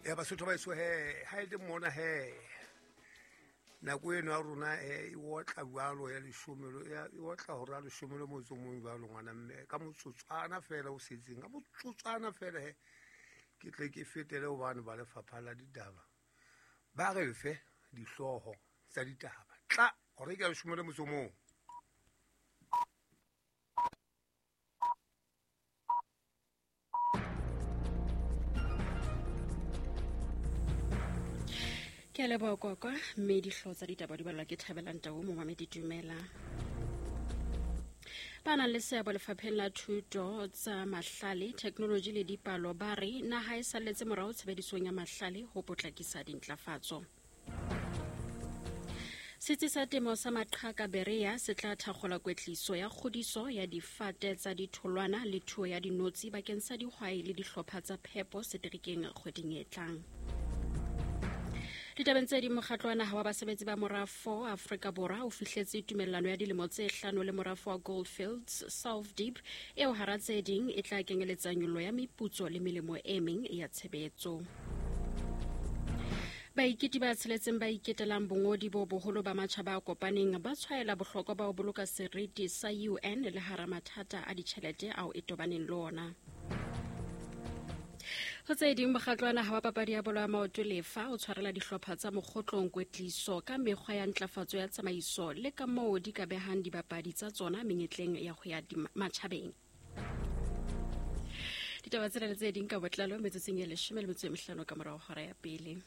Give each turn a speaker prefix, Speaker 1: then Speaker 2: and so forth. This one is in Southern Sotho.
Speaker 1: Ya Basotho ba eso he, ha e le mona he, nako eno ya rona e otla jwalo ya leshome, e otla hora ya leshome le motso mong jwalo, ngwana mme, ka motsotswana fela o setseng, ka motsotswana fela he, ke tle ke fetele hobane ba lefapha la ditaba ba re fe dihlooho tsa ditaba. Tla hore ke ya leshome le motso mong.
Speaker 2: Ke a leboha kwakwa, mme dihlooho tsa ditaba di balwa ke Thabelang Tau. Momamedi, dumela. Ba nang le seabo lefapheng la thuto, tsa mahlale, thekenoloji le dipalo ba re naha e salletse morao tshebedisong ya mahlale ho potlakisa dintlafatso. Setsi sa temo sa Maqhaka Berea se tla thakgola kwetliso ya kgodiso ya difate tsa ditholwana le thuo ya dinotshi bakeng sa dihwai le dihlopha tsa phepo seterekeng kgweding e tlang. Ditabeng tse ding, mokgatlo wa naha wa basebetsi ba morafo Afrika Borwa o fihletse tumellano ya dilemo tse hlano le morafo wa Goldfields South Deep, eo hara tse ding e tla kenyeletsa nyollo ya meputso le melemo e meng ya tshebetso. Baiketi ba tsheletseng ba iketelang bongodi bo boholo ba matjhaba a kopaneng ba tshwaela bohlokwa ba ho boloka seriti sa UN le hara mathata a ditjhelete ao e tobaneng le ona. Ho tse ding, mokgatlo wa naha wa papadi ya bolo ya maoto Lefa o tshwarela dihlopha tsa mokgotlong kwetliso ka mekgwa ya ntlafatso ya tsamaiso le ka moo di ka behang dibapadi tsa tsona menyetleng ya ho ya matjhabeng. Ditaba tsena le tse ding ka botlalo metsotsong e 15 ka morao hora ya pele.